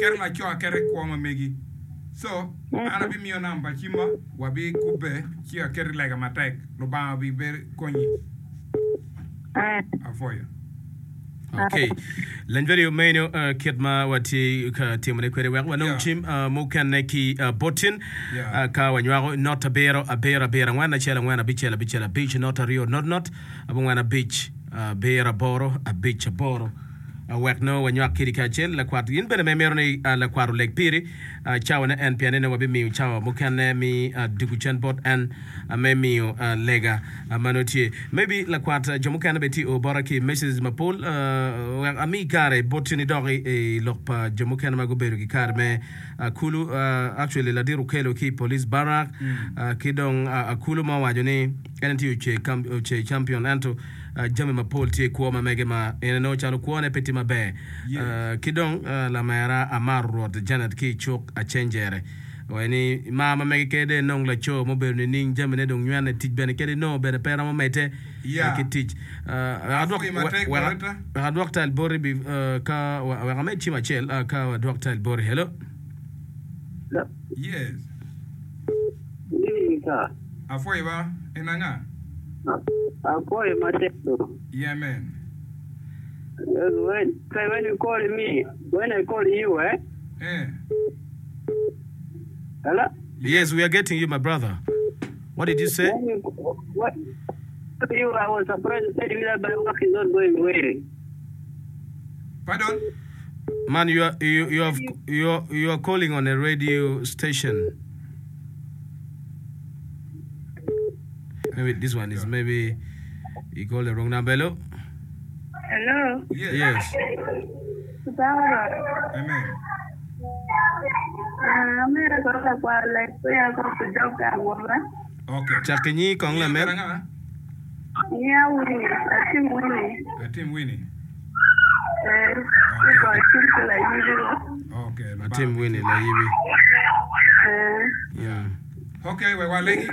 Aketo laco aketa i kwo ma megi. So, an abimiyo namba cimma, wabikubbe ci aketi lega matek. Lubanga obibedo konyi. Apwoyo. Ok. Leny radio meno uh, kit ma watye ka timone kwede wek wanong Yeah. cim uh, mukene ki uh, botin Yeah. uh, ka wanywako not abiro abiro abiro angwen acel angwen abicel abicel abic not aryo not not abongwen abic abiro aboro abic aboro Uh, wek nongo wanywak kidi kacel lakwat in bene ma imito ni uh, lakwat oleg piri uh, cawane en pien ni nongo wabimiyo cawa mukene mi uh, dugu cen bot en uh, me miyo uh, lega uh, ma nongo tye maybe lakwat uh, jo mukene bene tye o bota ki messages mapol uh, wek ami kare boti ni dok i, i lok pa jo mukene ma gubedo ki kare me uh, kulu uh, actually ladit Okello ki i police barrack uh, ki dong uh, Akulu ma owaco ni en tye oce champion ento jami mapol tye i kwo ma mege ma en nongo calo kwone pe tye maber. Ki dong lamera Amaro Rwot Janet ki i cuk Acenjere owaco ni mar ma mege kede enong laco ma obedo nining jamine dong nywene tic bene kede inongo bene pe romo medde ki tic. Wek adwok tal boti ka wek amed cim acel ka wadwok tal boti. Hello. Yes. Apwoyo ba, en anga? Apwoyo matek do. Yeah man. When, when you call me, when I call you, eh? Eh. Hello? Yes, we are getting you my brother. What did you say? When you, when you, I was surprised you said that my work is not going well. Pardon? Man, you are, you, you have, you are, you are calling on a radio station. Maybe this one is maybe you called the wrong number. Hello? Hello. Yes. Yes. Baba. Amen. Ah, amera ko ka kwa like ko ya ko ku dog ka awoba. Okay. Cak inyi kong Inyi lamer. obedo anga? Nya Winnie, atim Winnie. Atim Winnie. Eh, Okay. ko atim ko la yibi. Okay. Lubanga Atim Winnie bitye. layibi. Eh. Yeah. Ok, wek walegi,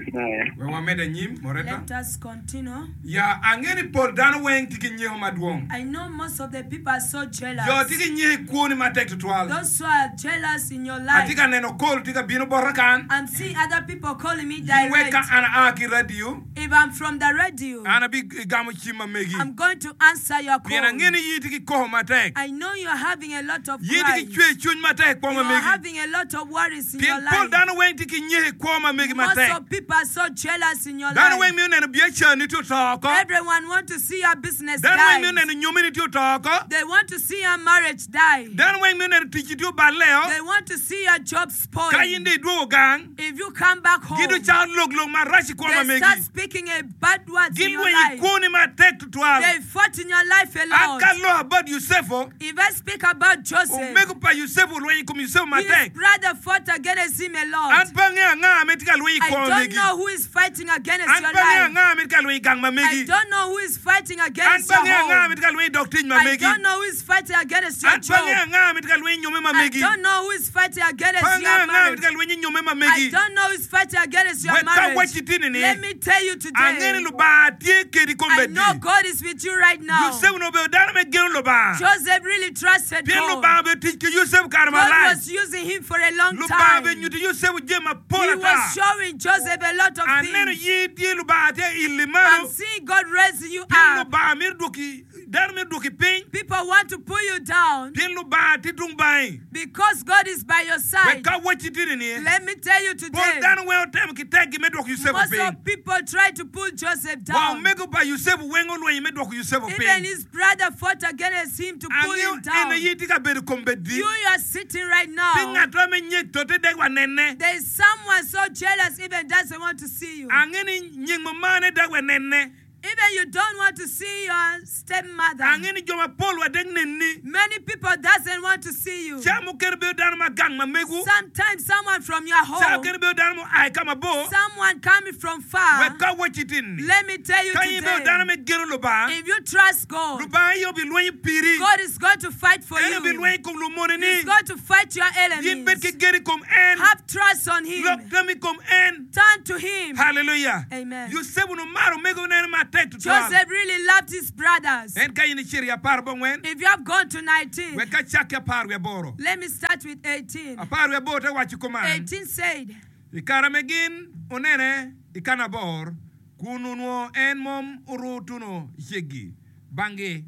wek wamedde anyim, Moretta. Let us continue. Ya, angeyo ni pol dano weng tye ki nyeko madwong. I know most of the people are so jealous. Jo tye ki nyeko i kwoni matek tutwal. Those who are jealous in your life. Atye ka neno call tye ka bino bota kan. I'm seeing other people calling me Yin wek direct. ka an aa ki radio. If I'm from the radio. An abigamo cim ma megi. I'm going to answer your call. Pien angeyo ni yin itye ki koko matek. I know you are having a lot of Yin itye ki cries. cwer cwiny matek i kwo You ma are megi. having a lot of worries in your Pien pol life. dano weng tye ki nyeko i kwo ma megi Most matek. of people are so jealous in your Dano life. weng mito neno biacarani tye oto oko. Everyone want to see your business Dano weng mito die. neno nyomini tye oto oko. They want to see your marriage die. Dano weng mito neno ticci tye oballe-o. They want to see your job spoil. Ka in dong idwogo gang, If you come back home, Gin ducako lok lok marac i kwo ma they start megi. speaking a bad words in your Gilwenyo i life. kwoni matek tutwal. They fought in your life a An lot. ka aloko about Yucepu, If I speak about Joseph, omego pa Yucepu olwenyo i kom Yucepu his matek. brother fought against him a lot. An pe angeyo anga ma itye ka lweny i I kwo ma don't megi. know who is fighting against An your pe angeyo life. anga ma itye ka lweny i gang ma I megi. don't know who is fighting An against pe your angeyo anga ma home. itye ka lweny i dog tic ma I megi. don't know who is fighting against your An pe angeyo job. anga ma itye ka lweny i nyomme ma I megi. don't know who is fighting against Pe angeyo your anga ma marriage. itye ka lweny i nyomme ma I megi. don't know who is fighting against your Wek ka marriage. awacci tini ni, Let me tell you angeyo today, ni Lubanga tye kedi I kombeddi. know God is with you right now. Yucepu onongo obedo dano me geno Lubanga. Joseph really trusted Pien God. Lubanga obedo tic ki Yucepu kare God malac. was using him for a long Lubanga obedo time. nyuto Yucepu jami mapol He ata. was showing Joseph a lot of Aneno things. in tye Lubanga tye ili I'm malo, seeing God raising you pien up. Lubanga mito dwoki Dano mito dwoki piny. People want to pull you down. Pien Lubanga tye tung bangi. Because God is by your Wek side. ka awacci tini ni, Let me tell you pol today, dano weng otemo ki tekgi me dwoko Yucepu most piny. of people try to pull Joseph Wa down. omego pa Yucepu weng olwenyo me dwoko Yucepu Even piny. his brother fought against him to pull Angeyo him en down. aye tye ka bedo kombeddi. You, you are sitting right Pi now. ngat mo me nyek tote dek wa nene. There is someone so jealous even doesn't want to see you. Ange ni nying mamane dek wa nene. Even you don't want to see your step mother. Ange ni jo mapol wa dek nenni. Many people doesn't want to see you. Ca mukene bedo dano ma gang ma megu. Sometimes someone from your Ca home. mukene bedo dano mua i ka mabor. Someone coming from far. Wek ka awacci tin ni. Let me tell you Ka in ibedo today. dano me geno Lubanga. If you trust God. Lubanga aye obilwenyo piri. God is going to fight for En you. obilwenyo i kom lumoneni. He's going to fight your In bed ki enemies. gen i kom en. Have trust on him. Lok tammi i kom en. Turn to him. Haleluya! Amen. Yucepu onongo maro omegone matek. matek tutwal. Joseph really loved his brothers. En ka in icito i 19, If you have gone to 19, wek acak ki 18. let me start with 18. 18 te waco kuman, 18 said, I kare me gin onene i kanabor, kun onwongo en mom oru tuno i ceggi banggi,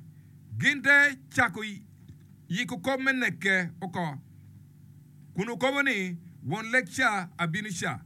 gin te cako yiko kop me neke oko, kun okobo ni, Won lek ca abino ca.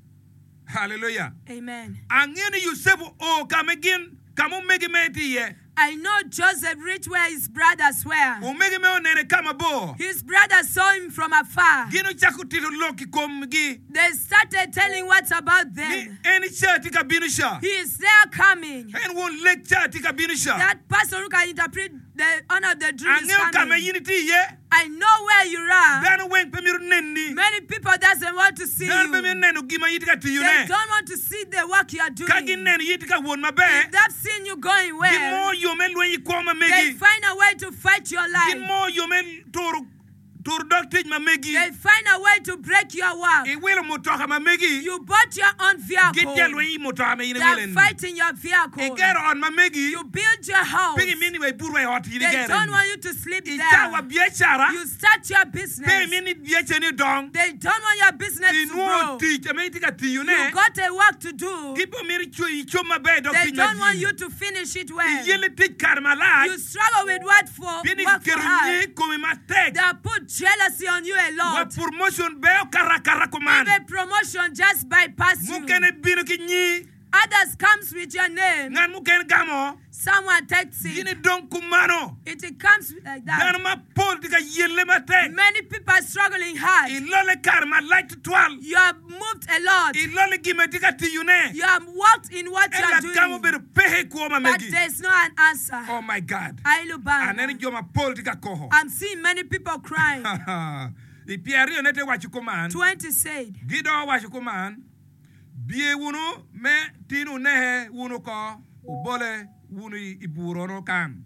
Haleluya! Amen. Angeyo ni Yucepu oo ka me gin ka ma omegi mere tye iye. I know Joseph reached where his brothers were. Omegi mere onene ka mabor. His brothers saw him from afar. Gin ocako tito lok i komgi. They started telling what's about Ni them. en ca tye ka bino ca. He is there coming. En won lek ca tye ka bino ca. That person who can interpret the honor of the dream is Angeyo ka ma coming. in itye iye. I know where you are. Dano weng pe mito neni. Many people doesn't want to see Dano pe you. mito neno gin ma in itye ka They tiyone. don't want to see the work you are Ka doing. gineno in itye ka wot maber, If they've seen you going well, ginongo yo me lweny i kwo ma they megi. find a way to fight your life. Ginongo yo me turo turo dog tic ma megi. They find a way to break your work. Iwilo mutoka ma megi. You bought your own vehicle. Gitye lweny i mutoka ma in They are iwilo-ni. fighting your vehicle. Igero ot ma megi. You build your house. Pe gimini wa ibut wa i ot in They igero-ni. don't want you to sleep Icawa there. biacara. You start your Pe business. imini biacarani odong. They don't want your business to Inwongo grow. tic ame itye ka tiyone. You got a work to do. Gipe omito icom maber dok They tic ma don't want jiri. you to finish it well. Iyelle tic kare malac. You struggle with what for Pien work for giketo hard. nyer i komi matek. They have put jealousy on you a Wa lot. promotion bene okato akata kuman. Even promotion just bypass you. Mukene bino ki nyi. Others comes with your name. Ngat mukene gamo. Someone takes Gin it. idong kumano. It comes like that. Dano mapol tye ka yelle matek. Many people are struggling hard. Ilole kare malac tutwal. You have moved a lot. Ilole gin ma itye ka tiyone. You have worked in what you En are lagam doing. obedo peke i kwo ma But megi. there's no an answer. Oh my God. Ai Lubanga. Aneno jo mapol tye ka koko. I'm seeing many people crying. I pyeryone te waco kuman. 20 said. Gidoko waco kuman. Biye wunu me tin wunehe wunu oko, wubole wunu i bur-rono kan.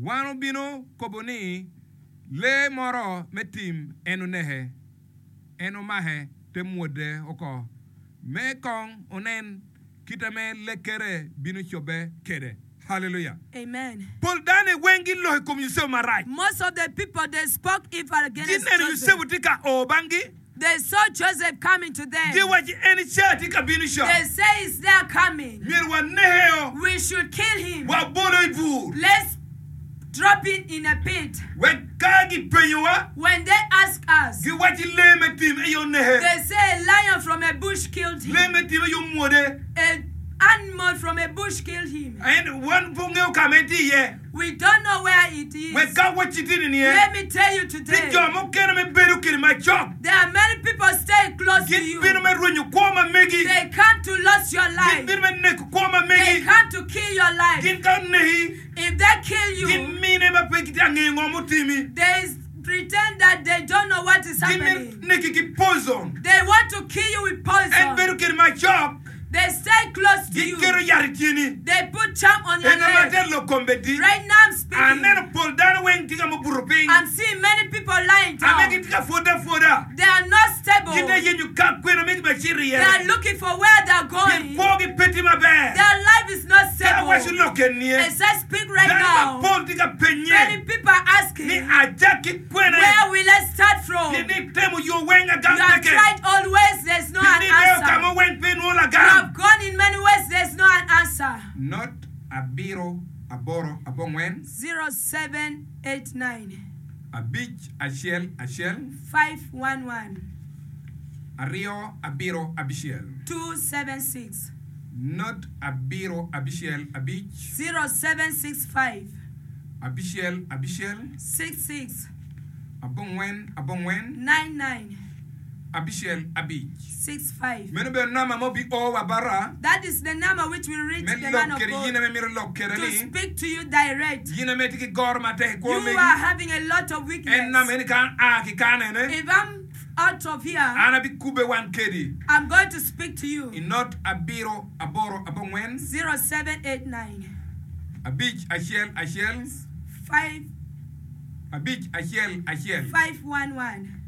Wan obino kobo ni, 'Lee moro me tim en onehe, en omahe te mwode oko, me kong onen kite me lekkere bino cobbe kede. Haleluya! Amen. Pol dano weng giloko i kom Yucepu marac. Most of the people they spoke evil against Gineno Joseph. Yucepu tye ka o banggi. They saw Joseph coming to them. Giwaco en ca tye ka bino ca. They say he's there coming. Myero wanekeo. We should kill him. Wabolo i bur. Let's drop him in a pit. Wek ka gipenyowa. When they ask us. Giwaci lee me tim aye oneke. They say a lion from a bush killed him. Lee me tim aye omwode. A animal from a bush killed him. En wan pe ongeyo ka ma en tye iye. We don't know where it is. Wek ka wacci tini niye. Let me tell you today. Tye jo mukene me bedo kede macok. There are many people stay close to you. Gin bino me rwenyo kwo ma megi. They come to lose your life. Gin bino me neko kwo ma megi. They come to kill your life. Gin ka onehi. If they kill you. Gin mine ma pe gitye ka ngeyo ngo mutimi. They pretend that they don't know what is happening. Gin me neki ki poison. They want to kill you with poison. En bedo kede macok. They stay close to you. Giketo yat i tyeni. They put charm on your Eno ma leg. te lok kombeddi. Right now I'm speaking. Aneno pol dano weng tye ka mubuto piny. I'm seeing many people lying down. Ame gitye ka pwodde apwoda. They are not stable. Gitye yenyo ka kwena me gibacito iye. They are looking for where they are Pien going. kwogi pe tye maber. Their life is not Ka stable. awaco lok eni, As I speak right dano now, mapol tye ka penye many people are asking, ni ajak ki kwene. Where will I start from? Pien ni itemo yo weng agam You have peke. tried all ways, there's no Pien an ni ideo answer. ka mo weng pe inwongo You lagam. have gone in many ways, there's no an answer. Not abiro aboro abongwen. 0789. 5 1 1. 511. 2 7 6. 276. Not 7 5. 0765. 6 6. 66. 9 9. 99. 5 5. 65. Meno obedo namba ma obi o wa bota. That is the number which will reach Me the man lok of kede God yin ame mito lok kede to ni. speak to you direct. Yin ame tye ki goro matek i kwo You megi. are having a lot of weakness. En namba eni ka an a ki kan ene. If I'm out of here, An abikube wan kedi. I'm going to speak to you. I not abiro aboro abongwen. 0789. 5 1 1. 5. 5 1 1.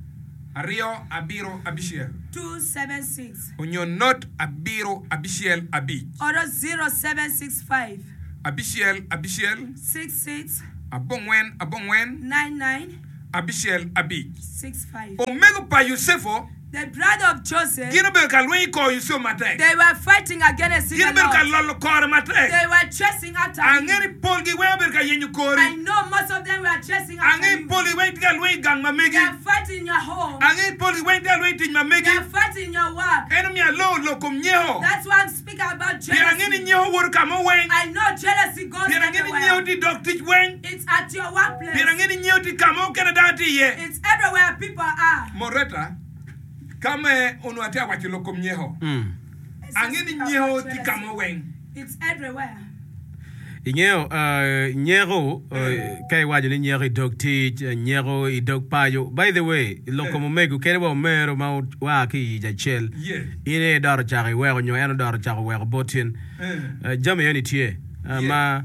511. 2 7 6. 276. Onyo not 7 7 5. Oro 0765. Abicel, abicel. 66. Abongwen, abongwen. 99. Abicel, abic. 65. Omego pa Yucepu. The brother of Joseph. Gin obedo ka lweny i kor Yucepu matek. They were fighting against him Gin a obedo ka lot. lolo kore matek. They were chasing after him. Ange ni polgi weng obedo ka yenyo kori. I know most of them were chasing after Ange you. polgi weng tye ka lweny i gang ma megi. They are fighting in your home. Ange polgi weng tye ka lweny i tic ma They megi. are fighting in your work. En omiyo aloo lok kom nyeko. That's why I'm speaking about Pien ange ni jealousy. nyeko woto ka mo weng. I know jealousy goes Pien ange ni everywhere. nyeko tye i dog tic weng. It's at your Pien workplace. ange ni nyeko tye ka mo kene dano tye iye. It's everywhere people are. Moreta, Ka me onongo atye ka waco lok kom nyeko, ange ni nyeko tye ka mo weng. It's everywhere. Ingeyo, nyeko, ka iwaco ni nyeko i dog tic, nyeko i dog paco. By the way, lok kom omego kadi wa omero ma oa ki i ic acel, in aye idot ocako iweko nyo en odot ocako weko bot in. Jami eni tye ma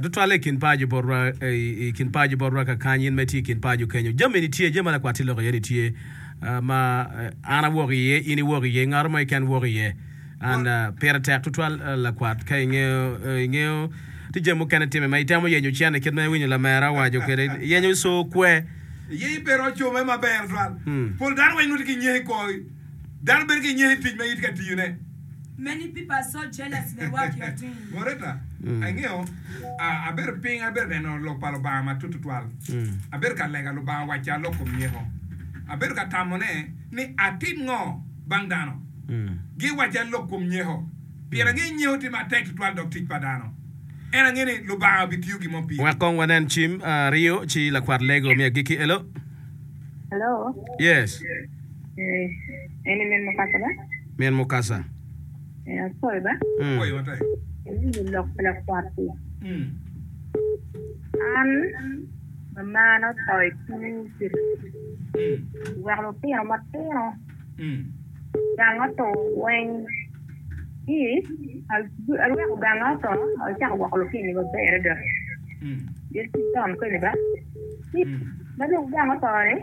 tutwalle i kin paco botwa, i kin paco botwa kakany, in ma itye i kin paco kenyo. Jami eni tye, jami ma lakwat tye lok iye ni tye. ma an awok iye, in iwok iye, ngat mo keken wok iye. And pire tek tutwal lakwat ka ingeyo ingeyo tye jami mukene timme ma itemo yenyo cente kit ma iwinyo lamera owaco kwede yenyo co kwe. Iye pe roco cume maber tutwal. Pol dano weng nongo tye ki nyeko i kor dano bedo ki nyeko i tic ma in itye ka tiyone. Many people are so jealous the work you are doing. Loretta, Angeyo, abedo piny abedo neno lok pa Lubanga matut tutwal. Abedo ka lega Lubanga owacca lok kom nyeko. Abedo ka tamone ni atim ngo bang dano. Giwacca lok kom nyeko. Pien angeyo nyeko tye matek tutwal dok tic pa dano. En angeyo ni Lubanga obitiyo gin mo piri. Wek kong wanen cim aryo ci lakwat lego me agikki. Hello. Hello. Yes. Eh, eni min mukasa ba? Min mukasa. Eh, apwoyo ba? Apwoyo matek. Iwinyo lok pa lakwat-ti. An mamana oto i two weko lutino matino gang oto weng ci aweko ganga oto acako gwoko lutini maber adada. Gin con kweni ba? Ci ma dong gang oto-ni,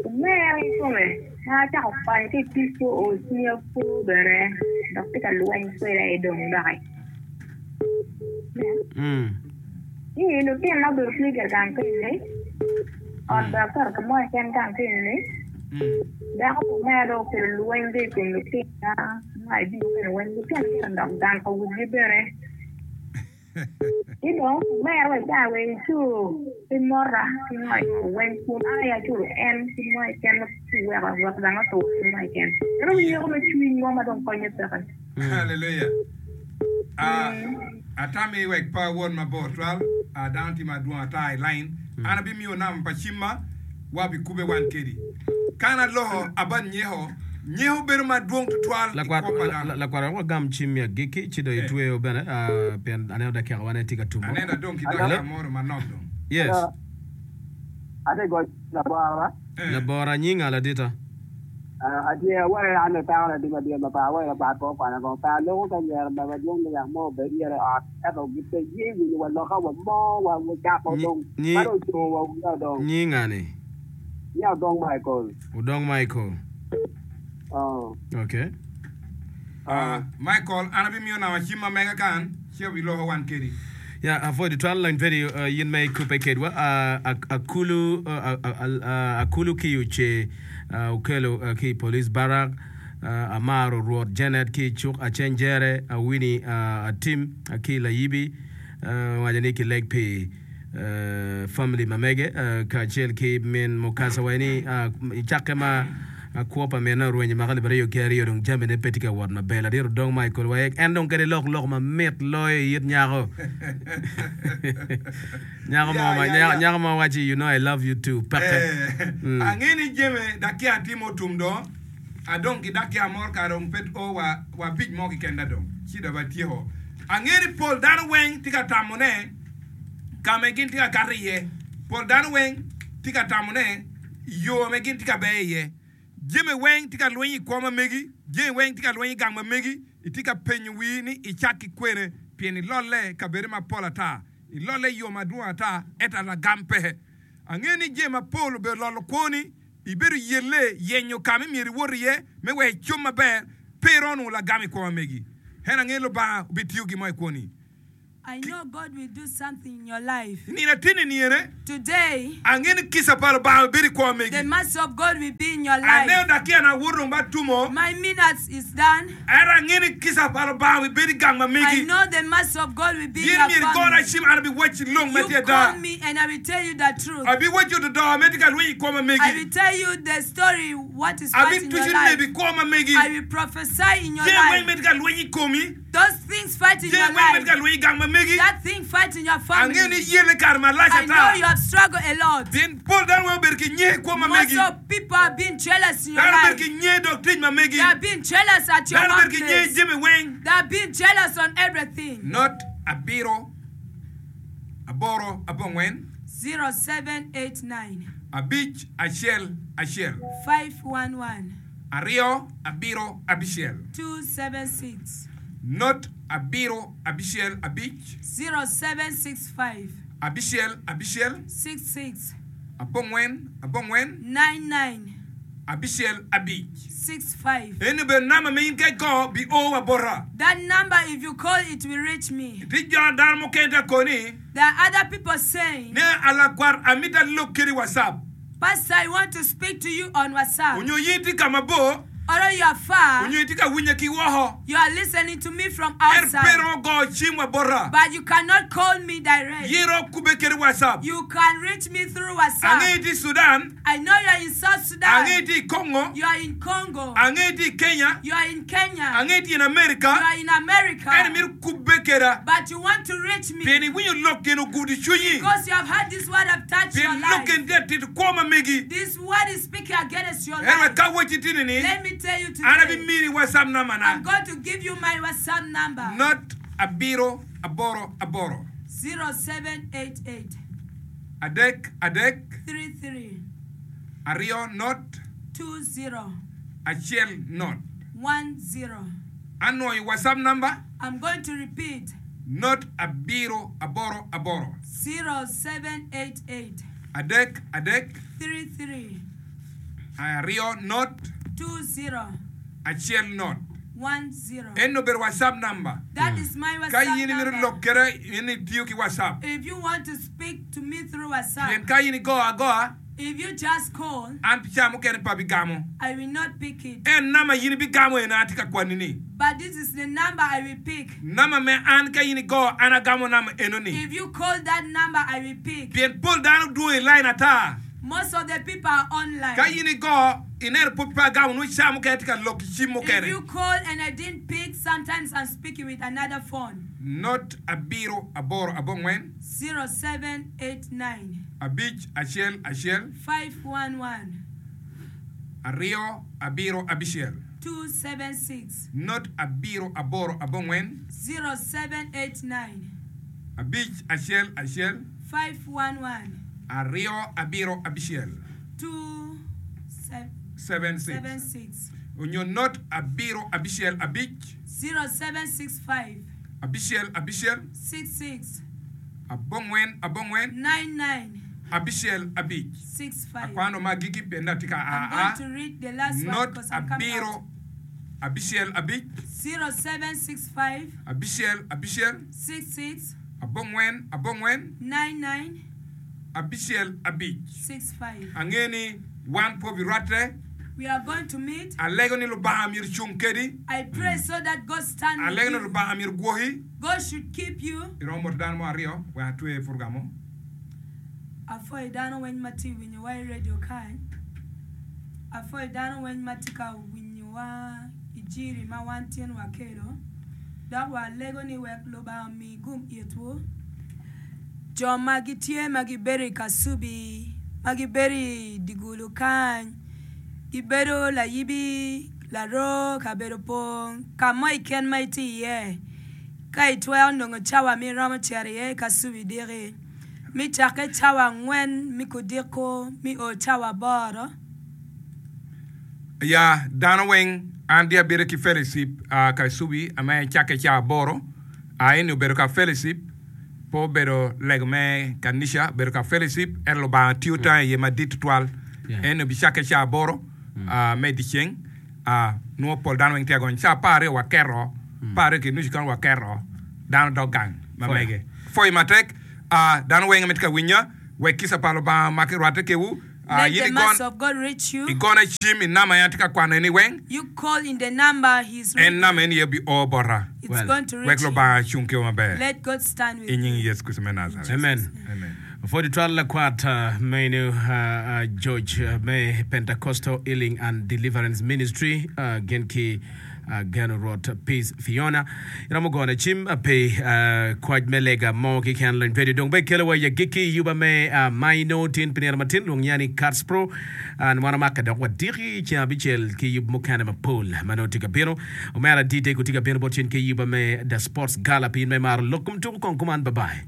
omera kikome ma acako kwanyo ki i tic oo i cwinya pur bene dok tye ka lweny kweda aye dong doki. Ci lutinona obedo tye gire gang keni-ni, ot bene aketo ka mo keken gang keni-ni, dako pa omera dong okelo lweny dong i kom lutinona ma i bino weng lutino gire dok gang ka wigi bene. Ci dong omera wa i caa wa icur ki mota ki ngo i weng kun an aye aculo en ki mo keken ma ci weko wek dang otur ki mo keken. Ento nyeko me cwiny mo ma dong konye peke. Haleluya. Ah, atami wek pe awot mabor twal. Ah, dano tye madwong ata i lain. An abimiyo namba pa cimma, wabikube wan kedi. Kan aloko abat nyeko, nyeko bedo madwong tutwal i kwo pa dano. Lakwat wek wagam cim me agikki ci dong itweyo bene pien aneno dakika wane tye ka tumo. Aneno adong ki dakika moro manok dong. Yes. Atye goc labora. Labora nyinga ladita. Atye awaye an latanga ladit madit ma pe awaye labat pe okwana kong pe aloko ka nyero bene madwong me yak mo obed ire i ot ento pe ye winyo wa loka wa mo wa ocako dong ma dong ocung wa wiya dong. Nyinga ni? Nyinga Odong Michael. Odong Michael. Oh. Okay. Ah, Michael, an abimiyo namba cim ma mega kan, ci abiloko wan kedi. Ya, apwoyo tutwal lony pedi uh, in ma ikubbe kedwa. Uh, akulu, uh, uh, akulu ki oce uh, okelo uh, ki i police barrack. Uh, amaro Rwot Janet ki i cuk Acenjere, Awini uh, Atim uh, ki Layibi, uh, owaco ni kileg pi family ma mege kacel ki min mukasa wa ni i cakke ma kwo pa minne orwenyo mwaka alip aryo ki aryo dong jamine pe tye ka wot maber. Ladit Odong Michael wa en dong kadi lok lok mamit loyo i it nyako. Nyako mo ma nyako mo waci you know I love you too peke. Ange ni jami dakika tye mutum do adong ki dakika moro kare dong pe o wa wa abic mo keken da dong ci dong atyeko. Ange ni pol dano weng tye ka tamo ne ka ma gin tye ka kato iye. Pol dano weng tye ka tamo ne yo ma gin tye ka ber iye. Jami weng tye ka lweny i kwo ma megi, jami weng tye ka lweny i gang ma megi. Itye ka penyo wii ni icak ki kwene pien ilolle i kabede mapol ata, ilolle i yo madwong ata ento lagam pe. Angeyo ni jami mapol obedo lolo kwoni, ibedo yelle yenyo ka ma myero iwot iye me wek icom maber, pe iromo nongo lagam i kwo ma megi. Ento angeyo Lubanga obitiyo gin mo i kwoni. I know God will do something in your life. I nino atinni niyene, Today, angeyo ni kica pa Lubanga bibedo i kwo the megi. mercy of God will be in your life. Aneno dakika na awoto dong ba tumo, My minutes is done. ento angeyo ni kica pa Lubanga bibedo i gang ma I megi. know the mercy of God will be in Yin your myero igona family. cim, an abiwacci lok ma You tye ada. call me and I will tell you the truth. Abiwacci ododo ma tye ka lweny i kwo ma I megi. will tell you the story, what is fighting your Abitucu life. nebi i kwo ma megi. I will prophesy in your Jami weng life. ma tye ka lweny i komi. Those things fight in Jami your weng ma tye life. ka lweny i gang ma megi. That thing fight in your Angeyo family. ni iyelle kare malac I know ata. you have struggled a lot. Pien pol dano weng obedo ki nye i kwo ma Most megi. of people have been jealous in your Dano obedo life. ki nye dok tic ma megi. They have been jealous at your Dano obedo ki nye i workplace. jami weng. They have been jealous on everything. Not abiro aboro abongwen. 0789 Abic acel acel. 511 Aryo abiro abicel. 276. Not abiro abicel abic. 0765. Abicel abicel. 66. Abongwen abongwen. 99. Abicel abic. 65. Eni obedo namba ma in ka igo bi o wa bota. That number if you call it will reach me. Tye jo dano mukene tye koni. There are other people saying. Ni alakwat amito alok kedi WhatsApp. Pastor I want to speak to you on WhatsApp. Onyo in itye ka mabor. Although you are far. Onyo itye ka winya ki woko. You are listening to me from Ento pe outside. iromo goyo cim wa bota. But you cannot call me direct. In iromo kubbe kede WhatsApp. You can reach me through WhatsApp. Angeyo itye i Sudan. I know you are in South Sudan. Angeyo itye i Congo. You are in Congo. Angeyo itye i Kenya. You are in Kenya. Angeyo itye in America. You are in America. Ento imito kubbe keda. But you want to reach me. Pien iwinyo lok gin ogudo i cwinyi. Because you have heard this word have touched your Pien life. lok gin tye ka tito kwo ma megi. This word is speaking against your Ento life. wek ka awacci tini ni, Let me tell you an today. abimini WhatsApp namba na. I'm going to give you my WhatsApp number. Not abiro aboro aboro. 0788. Adek adek. 33. Aryo not. 20. Acel not. 10. Anwoyo WhatsApp number. I'm going to repeat. Not abiro aboro aboro. 0788. Adek adek. 33. Aryo not. 20. Acel not. 10. En obedo WhatsApp number. That is my Ka WhatsApp in imito number. lok kede in itiyo ki WhatsApp. If you want to speak to me through Pien WhatsApp, ka in igo agoa, if you just call, an pi ca mukene pe abigamo. I will not pick it. En namba in ibigamo eni atye ka kwani ni. But this is the number I will pick. Namba me an ka in igo an agamo namba eno ni. If you call that number, I will pick. Pien pol dano dwong i line ata. Most of the people are online. Ka in igo, ineno pud pe agamo nongo ca mukene tye ka lok ki cim If mukene. you call and I didn't pick, sometimes I'm speaking with another phone. Not abiro aboro abongwen. 0789. Abic acel acel. 511. Aryo abiro abicel. 276. Not abiro aboro abongwen. 0789. Abic acel acel. 511. Aryo abiro abicel. 276. 76. Onyo not abiro abicel abic. 0765. Abicel abicel. 66. Abongwen abongwen. 99. Abicel abic. 65. Akwano ma agikki pien atye ka a I'm a. going to read the last one Not because I'm coming abiro out. abicel abic. 0765. Abicel abicel. 66. Abongwen abongwen. 99. Abicel abic. 65. Angeyo ni wan pe obirwatte. We are going to meet. Alego ni Lubanga myero ocung kedi. I pray so that God stand with Alego ni you. Lubanga myero ogwoki. God should keep you. Iromo moto dano mo aryo wek atwe program mo. Apwoyo dano weng ma tye winyowa i radio kany. Apwoyo dano weng ma tye ka winyowa i jiri ma wan tin wakelo. Dok walego ni wek Lubanga omi gum itwu. Jo ma gitye ma gibedo i Kacubi, ma gibedo i dye gulu kany, gibedo layibi, laroo, kabedo pong, ka mo keken ma itye iye, ka itwero nongo cawa ma iromo cito iye i Kacubi diki, me cakke cawa angwen me kudiko me o cawa aboro. Ya dano weng, an dye abedo ki fellowship Kacubi ame cakke cawa aboro. Eni obedo ka fellowship, pe obedo lego me kanica, obedo ka fellowship, ento Lubanga tiyo tange iye madit tutwal. Eni obicakke ca aboro me dyeceng, nongo pol dano weng tye ka gonyo. Ca 12 waketo, 12 ki nucu kany waketo, dano dok gang. Ma mege. Pwoyo matek, aa, dano weng ma tye ka winya, wek kica pa Lubanga omaki rwatte kewu. Aa, Let in the igon, mercy of God reach you. igona cim i namba en atye ka kwano eni weng, You call in the number he's en reading. namba eni aye bio bota. It's Well, going to Wek reach you. Lubanga cung kewu maber. Let God stand with I nying you. Yecu Kricito me Najaret. Amen. Amen. Pwod twal lakwat meno George me Pentecostal Healing and Deliverance Ministry gin ki Geno Rwot Peace Fiona. Iromo gone cim pi kwac me lega mo keken lony radio dong be kelo wa i agikki yuba me maino tin pi nino matin lwong nya ni Katspro an wan omake dok wadiki ceng abicel ki yub mukene mapol ma nongo tye ka bino. Omera DJ ko tye ka bino bot cen ki yuba me The Sports Gala pi in ma imaro lok kom tuko kong kuman bye bye.